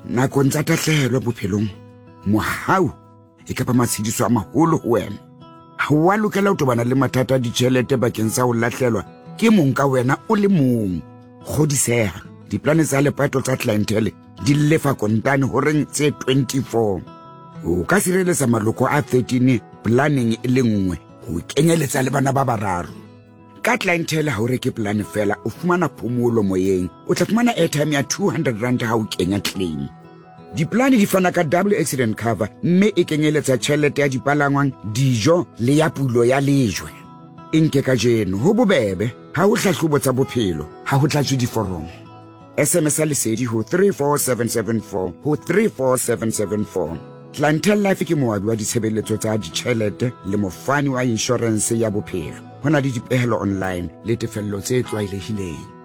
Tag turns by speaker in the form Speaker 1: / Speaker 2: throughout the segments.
Speaker 1: Nakong tsa tahlehelo bophelong, mohau e ka ba matshediso a maholo ho wena. Ha o a lokela ho tobana le mathata a ditjhelete bakeng sa ho lahlelwa ke mong ka wena o le mong. Kgodiseha, diplane tsa lepato tsa Clientele di lefa kontane horeng tse 24. O ka sireletsa maloko a 13 planeng e le nngwe ho kenyeletsa le bana ba bararo. Ka Clientele ha o reke polane fela, o fumana phomolo moyeng. O tla fumana airtime ya 200 rand ha o kenya claim. Dipolane di fana ka double accident cover mme e kenyeletsa tjhelete ya dipalangwang, dijo le ya pulo ya lejwe. E nke kajeno, ho bobebe, ha ho hlahlobo tsa bophelo, ha ho tlatswe diforomo. SMS ya Lesedi ho 34774 ho 34774. Clientele Life ke moabi wa ditshebeletso tsa ditjhelete le mofani wa inshorense ya bophelo. Ho na le dipehelo online le tefello tse tlwaelehileng.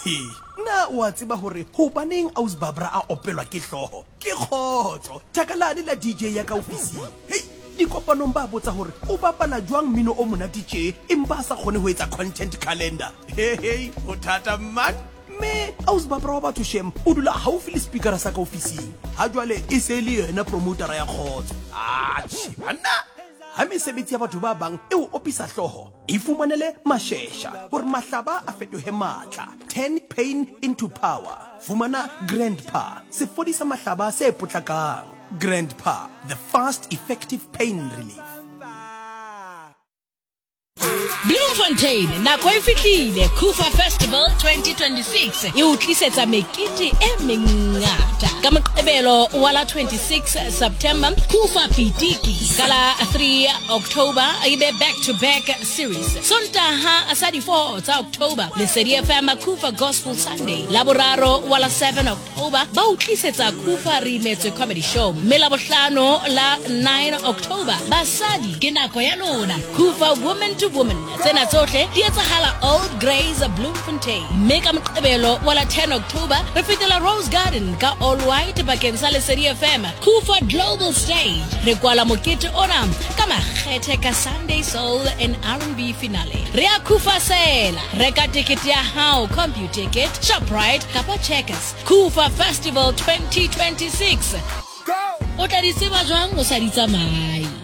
Speaker 2: He, na o a tseba hore hobaneng Aus Barbara a opelwa ke hlooho? Ke kgotso, thaka lane la DJ ya ka ofising. Hei, dikopanong ba botsa hore o bapala jwang mmino o monate tje empa a sa kgone ho etsa content calendar. He hei, ho thata man. Mme Aus Barbara wa batho shem o dula haufi le speakera sa ka ofising. Ha jwale e se e le yena promotera ya kgotso. Atjhe banna, ha mesebetsi ya batho ba bang e o opisa hlooho, Ifumanele mashesha hore mahlaba a fetohe matla. Turn pain into power. Fumana Grandpa, sefodisa mahlaba se potlakang. Grandpa, the fast, effective pain relief.
Speaker 3: Bloemfontein, nako e fihlile. Kufa Festival 2026 e o tlisetsa mekete e mengata. Ka Moqebelo wa la 26 September, Kufa Pitiki. Ka la 3 October e be back to back series. Sontaha sa di 4 tsa October, Lesedi FM Kufa Gospel Sunday. Laboraro wa la 7 October ba o tlisetsa Kufa Re Imetswe Comedy Show. Mme Labohlano la 9 October basadi ke nako ya lona. Kufa Woman to Woman. Tsena tsohle di etsahala Old Grays Bloemfontein. Mme ka Moqebelo wa la 10 October re fetela Rose Garden ka All White bakeng sa Lesedi FM. Kufa Global Stage. Re kwala mokete ona ka makgethe ka Sunday Soul and R&B finale. Re a Kufa sela. Reka tekete ya hao CompuTicket, Shoprite kapa Checkers. Kufa Festival 2026. O tla di tseba jwang o sa di tsamaye?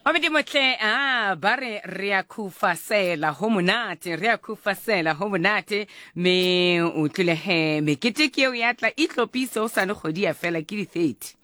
Speaker 4: Mabedi motle a ba re re a khufasela ho monate re a khufasela ho monate me o tlile he mekete ke eo ya tla itlopise o sane kgwedi ya fela ke di-30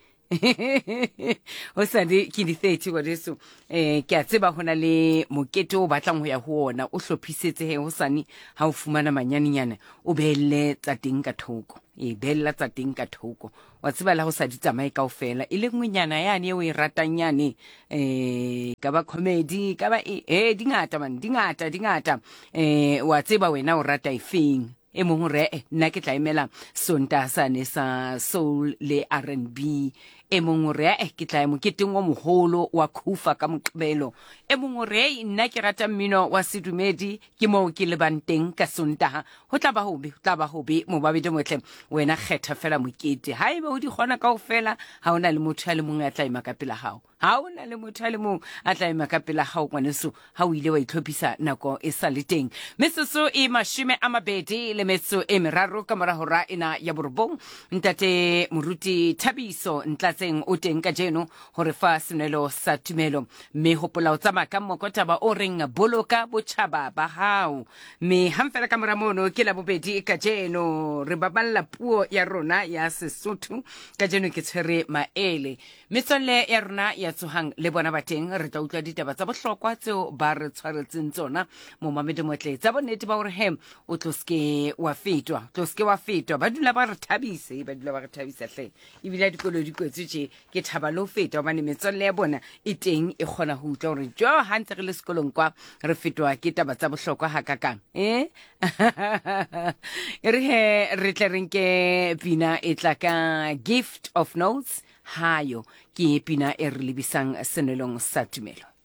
Speaker 4: o sane ke di-30 ngwaneso um ke a tseba ho na le mokete o batlang ho ya ho ona o hlophisetse he ho sane ha o fumana manyanenyana o beelle tsa teng ka thoko e beella tsa teng ka thoko wa tseba la go sa di tsamaye kao fela e le nngwenyana yane e o e ratang yane um ka ba comedy ka ba e e dingata man dingata dingata um wa tseba wena o rata efeng e mongwe re e nna ke tla emela sonta sane sa soul le r n b e mongwe re e ke tla ya moketeng o mogolo wa khufa ka moqebelo e mongwe re nna ke rata mmino wa sedumedi Ke moo ke lebang teng ka Sontaga. Go tla ba gobe, go tla ba gobe, mobabedi motle. Wena kgetha fela mokete. Ha ebe o di kgona kaofela, ha o na le motho a le mongwe a tla ema ka pela gago. Ha o na le motho a le mongwe a tla ema ka pela gago, ngwaneso, ha o ile wa itlhophisa nako e sa le teng. Metsotso e mashome a mabedi le metso e meraro ka mora hora ena ya borobong. Ntate Moruti Thabiso Ntlatseng o teng kajeno ho re fa senwelo sa tumelo. Mme hopola o tsamaya ka mokotaba o reng boloka botjhaba ba hao. Mme hang fela ka mora mono ke Labobedi kajeno re baballa puo ya rona ya Sesotho. Kajeno ke tshwere maele. Metswalle ya rona ya tsohang le bona ba teng re tla utlwa ditaba tsa bohlokwa tseo ba re tshwaretseng tsona. Momamedi motle tsa bonnete ba hore he o tlo seke wa fetwa, tlo seke wa fetwa. Ba dula ba re thabise, ba dula ba re thabisa hle. Ebile ha dikolo di kwetswe tje ke thaba le ho feta gobane metswalle ya bona e teng e kgona go utlwa gore jo ga ntse re le sekolong kwa re fetwa ke taba tsa bohlokwa ga kakang e e re he re tle re nke pina e tla ka gift of notes hayo ke pina e re lebisang senwelong sa tumelo.